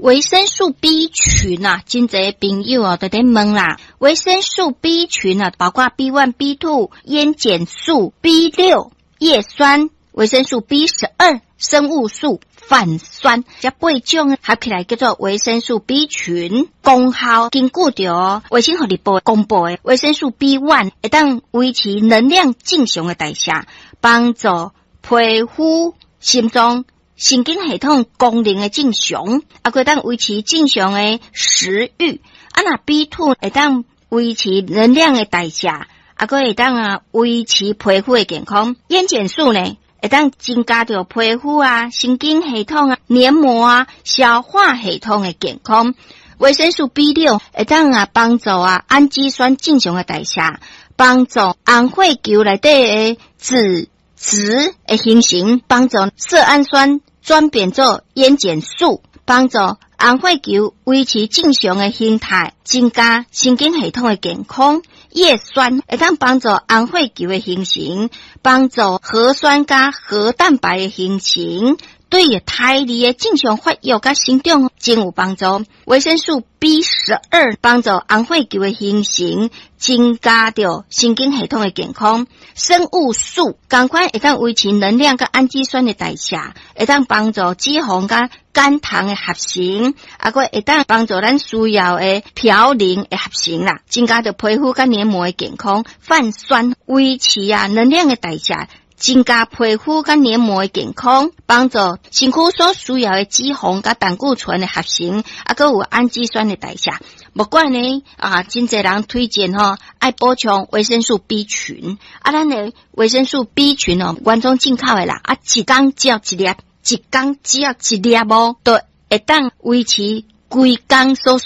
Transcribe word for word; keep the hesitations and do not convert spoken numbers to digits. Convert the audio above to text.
維生素 B 群啊，真濟朋友哦，都佇問啦。維生素 B 群啊，包括 B one、B two、煙鹼素、B 六、葉酸、維生素 B 十二、生物素、泛酸，這八種合起來叫做維生素 B 群。功效根據著衛生福利部公布的維生素 B one 會當維持能量正常的代謝，幫助皮膚、心臟、神經系統功能的正常，啊，閣會當維持正常的食慾。啊，若 B two 會當維持能量的代謝，啊，閣會當啊維持皮膚的健康。煙鹼素呢，會當增加著皮膚啊、神經系統啊、黏膜啊、消化系統的健康。維生素 B 六會當啊幫助啊氨基酸正常的代謝，幫助紅血球內底的脂質的形成，幫助色氨酸轉變做煙鹼素，幫助紅血球維持正常的形態，增加神經系統的健康。葉酸會當幫助紅血球的形成，幫助核酸佮核蛋白的形成，對胎兒的正常發育佮生長真有幫助。維生素 B 十二幫助紅血球的形成，增加著神經系統的健康。生物素仝款會當維持能量佮氨基酸的代謝，會當幫助脂肪佮肝糖的合成，啊，閣會當幫助咱需要的嘌呤的合成啦，增加著皮膚佮黏膜的健康。泛酸維持啊能量的代謝，增加皮膚佮黏膜的健康，幫助身軀所需要的脂肪佮膽固醇的合成，啊，閣有氨基酸的代謝。無怪呢，啊，真濟人推薦吼，愛補充維生素 B 群。啊，咱的維生素 B 群哦，原裝進口的啦，啊，一工只要一粒，一工只要一粒哦，就會當維持規工所